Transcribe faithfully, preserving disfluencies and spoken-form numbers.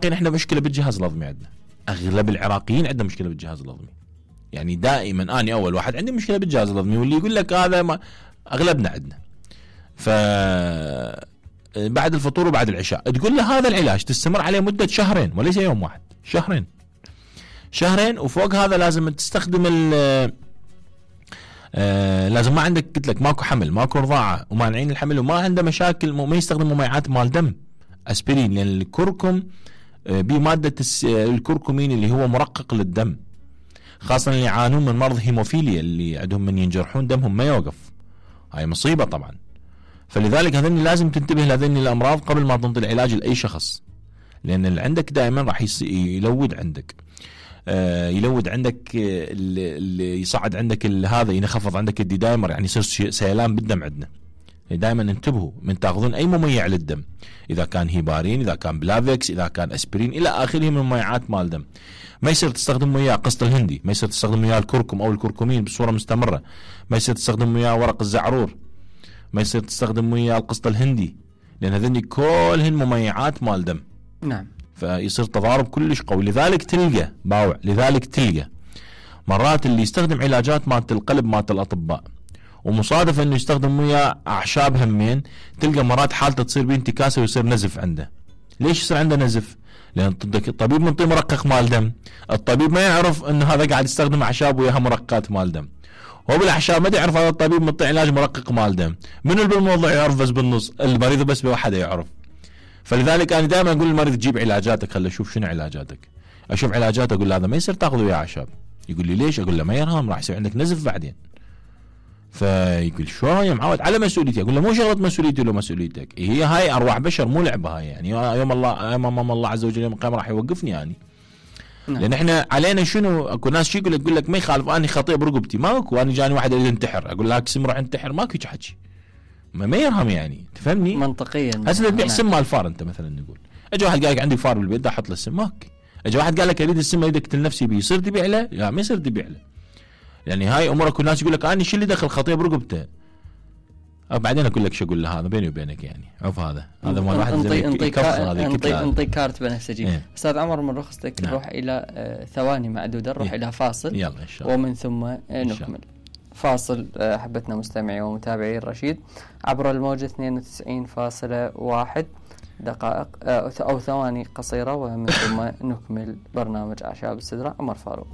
العراقيين احنا مشكله بالجهاز الهضمي، عندنا اغلب العراقيين عندنا مشكله بالجهاز الهضمي. يعني دائما اني اول واحد عندي مشكله بالجهاز الهضمي، واللي يقول لك هذا ما اغلبنا عندنا. ف بعد الفطور وبعد العشاء تقول له هذا العلاج تستمر عليه مده شهرين وليس يوم واحد، شهرين شهرين وفوق هذا لازم تستخدم ال آه لازم ما عندك قلت لك ماكو حمل ماكو رضاعه ومانعين الحمل وما عنده مشاكل، ما يستخدم مميعات مال دم اسبرين، لان الكركم آه بماده الكركمين اللي هو مرقق للدم، خاصه اللي يعانون من مرض هيموفيليا اللي عندهم من ينجرحون دمهم ما يوقف، هاي مصيبه طبعا. فلذلك هذني لازم تنتبه لهذني الامراض قبل ما تنطي العلاج لاي شخص، لان اللي عندك دائما راح يلود عندك آه يلود عندك اللي يصعد عندك هذا ينخفض عندك الدي دايمر، يعني يصير سيلان بالدم عندنا. دائما انتبهوا من تاخذون اي مميع للدم، اذا كان هيبارين اذا كان بلافكس اذا كان اسبرين الى اخره من مميعات مال دم. ما يصير تستخدم وياه قسط الهندي، ما يصير تستخدم وياه الكركم او الكركمين بصوره مستمره، ما يصير تستخدم وياه ورق الزعرور، ما يصير تستخدم وياه القسط الهندي، لان هذني كلهن مميعات مال دم. نعم. فيصير تضارب كلش قوي. لذلك تلقى باوع لذلك تلقى مرات اللي يستخدم علاجات مالت القلب مالت الاطباء ومصادف انه يستخدم وياه اعشاب همين، تلقى مرات حالته تصير بيه انتكاسه ويصير نزف عنده. ليش يصير عنده نزف؟ لان الطبيب منطي مرقق مال دم، الطبيب ما يعرف انه هذا قاعد يستخدم اعشاب وياها مرققات مال دم، هو بالاعشاب ما يعرف هذا الطبيب منطي علاج مرقق مال دم. من اللي بالموضوع يعرف بس بالنص؟ المريض بس بواحد يعرف. فلذلك انا دائما اقول للمريض تجيب علاجاتك، خلي اشوف شنو علاجاتك، اشوف علاجاته اقول له هذا ما يصير تاخذ وياه اعشاب، يقول لي ليش؟ اقول له ما يرهم راح يصير عندك نزف بعدين. فيقول شو يا معود على مسؤوليتي، اقول له مو شغله مسؤوليتي ولا مسؤوليتك، هي هاي ارواح بشر مو لعبه هاي، يعني يوم الله امام الله عز وجل يوم القيامه راح يوقفني يعني. نعم. لان احنا علينا شنو، اكو ناس شي يقول لك يقول لك ما يخالف اني خطيئه برقبتي، ماكو انا جاني واحد يريد ينتحر اقول له سم روح انتحر، ماكو هيك حكي، ما, ما يرهم يعني، تفهمني؟ منطقيا. هسه تبيع سم مال فار انت مثلا نقول، اجى واحد قال لك عندي فار بالبيت احط له السم، ماك. اجى واحد قال لك اريد السم اريد اقتل نفسي بيه، يصير تبيع له؟ لا ما يصير تبيع له. يعني هاي امورك الناس يقول لك انا شو اللي دخل خطيئه برقبته، بعدين اقول لك شو اقول له هذا بيني وبينك يعني عرف هذا هذا مال واحد انطي انطي انطي انطي كارت بنفسجي. إيه. استاذ عمر من رخصتك نعم. نروح الى آه ثواني معدوده، نروح إيه. الى فاصل يلا ان شاء الله ومن ثم آه نكمل. فاصل آه حبتنا مستمعي ومتابعي الرشيد عبر الموجة اثنين وتسعين فاصلة واحد دقائق آه او ثواني قصيره، ومن ثم نكمل برنامج اعشاب السدره. عمر فاروق.